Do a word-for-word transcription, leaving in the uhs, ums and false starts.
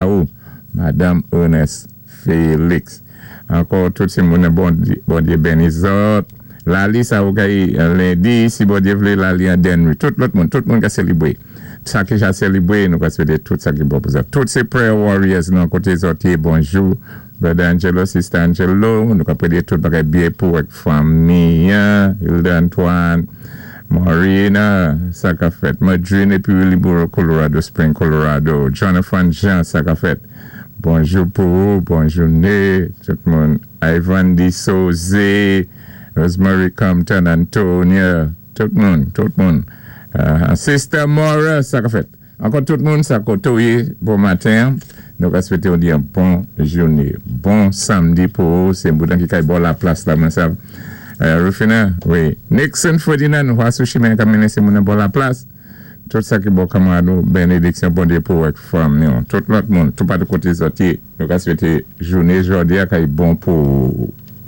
Ou, Madame Ernest Félix. Ankò tout sé moun Bondyé béni zòt. Lali sa ou kay lendi, si Bondyé vlé lali an Denry. Tout lòt moun, tout moun ka sélibwé. Sa ki ja sélibwé, nou ka swété tout sa ki bon pou zòt. Tout sé prayer warriors nan koté zòt yé, bonjou. Brother Angelo, Sister Angelo, nou ka préyé tout bagay byen pou ak fanmi, Hilda Antoine, Marina, sa ka fèt. Madrine épi Wiliboro, Colorado Spring, Colorado. Jonathan Jean, sa ka fèt. Bonjou pou ou, bonjou né, tout moun. Ivan Di Soze, Rosemary Compton, Antonia, tout moun, tout moun. Uh, Sister Mora, sa ka fèt. Ankò tout moun, sa koté ou yé, bon maten. Nou ka swété ou di yon bon jouné. Bon samdi pou ou, sé boudan ki kay bò la plas la, mwen sav. Uh, Rufina, wi. Nixon Ferdinand, wè sou chimen ka mennen sé moun bò la plas. Tout sa ki bon kanmarad nou, bénédiksyon Bondyé pou ak fanmi. Tout lòt moun, tout patou koté zòt yé, nou ka swété jouné jòdi a kay bon pou